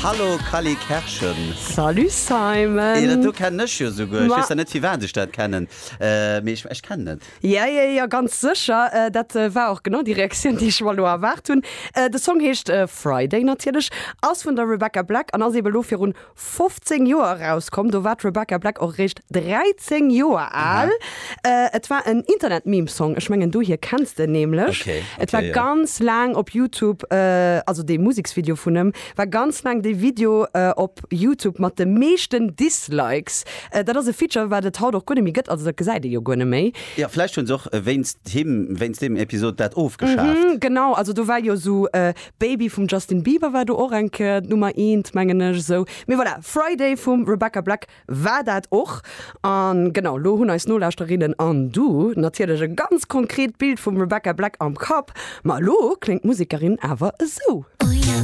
Hallo Cally Kerschen. Salut Simon. Eh, dat do kennen ech jo souguer. Ech weess zwar net firwat ech dat kennen, mee ech, ech kennen et. Ja, ja, ja, ganz sécher. Dat war och genau déi Reaktioun, déi ech mer elo erwaart hunn. De Song heescht Friday natierlech, ass vun der Rebecca Black an ass ebe lo virun 15 Joer erauskomm. Do war d'Rebecca Black och eréischt 13 Joer al. Et war en Internet-Meme-Song, ech mengen dohier kenns de en nämlech. Okay, Et war okay, jo. ganz laang op YouTube, also dee Museksvideo vun em, war ganz laang dee Video op YouTube mat de meeschten Dislikes. Dat ass e Feature, wat et haut och guer net méi gëtt, also dat gesäit ee jo guer net méi. Jo, vläicht hunn se och wéinst him, wéinst deem Episod dat ofgeschaaft. Genau, also do war jo esou Baby vum Justin Bieber war do och eng Kéier d'Nummer eent, mengen ech esou. Mee voilà, Friday vum Rebecca Black war dat och. An genau, lo hunn eis Nolauschterinnen an du natierlech e ganz konkret Bild vum Rebecca Black am Kapp. Ma elo kléngt d'Musekerin awer esou.